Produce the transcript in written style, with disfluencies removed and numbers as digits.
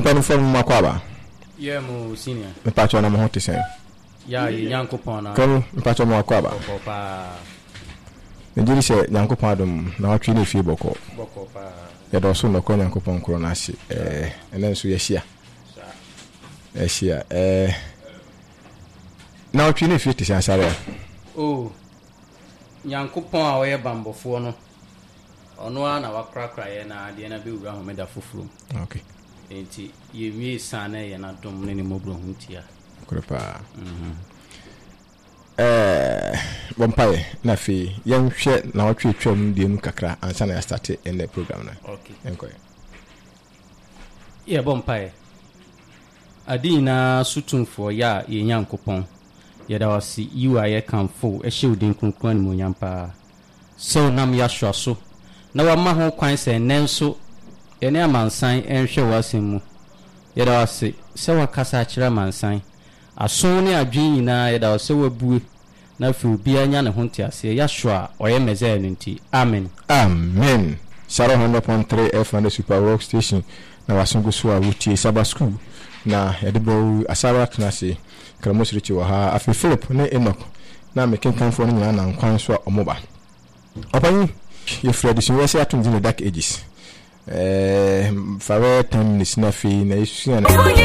Mpanimfoɔ no mo akɔ aba? Yeah mo senior. Mepakyɛw na mo ho te sɛn? Yeah yɛ Nyankopɔn na. Kwaku mepakyɛw mo akɔ aba? Bɔkɔɔ paa. Megye di sɛ Nyankopɔn adom na watwe ne fie bɔkɔɔ. Bɔkɔɔ paa. Yɛda ɔsoro nɔkorɛ Nyankopɔn korɔ no ase ɛɛ ɛnɛ nso yɛahyia. Saa. Yɛahyia ɛɛ na watwe ne fie te sɛn Asaria? Oh Nyankopɔn a ɔyɛ banbɔfoɔ no ɔno ara na wakorakora yɛn na adeɛ no abɛwura homeda foforɔ mu. Okay. Enti yɛnwie saa na ɛyɛ n'adom ne ne mmɔborɔhunu tia. Nokorɛ paa. Ɛɛ, bɔ mpaeɛ na afei yɛnhwɛ nawɔtwe atwa mu deɛ mu kakra ansa na yɛastate ɛnnɛ program no. Okay. Yɛnkɔ ɛ. Yɛbɔ mpaeɛ. Ade nyinaa so Tumfoɔ, Yah, yɛn Nyankopɔn, yɛda wo ase, yi wo ayɛ, kamfo wo, hyɛ wo din kronkron animuonyam paa. Sɛ wonam Yahshua so na woama ho kwan sɛ ɛnnɛ nso yɛne amansan nhwɛ w'asɛm mu. Yɛda wo ase sɛ woakasa akyerɛ amansan. Aso ne adwene nyinaa yɛda wo sɛ woabue na afei obiara nya ne ho nteaseɛ Yahshua a ɔyɛ Messiah no nti. Amen. Amen! Saro 100.3 FM ne Super Rock Station na w'aso gu so a wotie Sabbath School na yɛde brɛ wo Asare atena ase Kramosi Richie wɔ ha afei Philip ne Enoch na me kenkanfoɔ no nyinaa nam kwan so a wɔn ba. Ɔpanyin, yɛfiri adesua yi ase ato ne din The Dark Ages. Ɛɛ, fa bɛyɛ 10 minutes na afei na yɛsua no.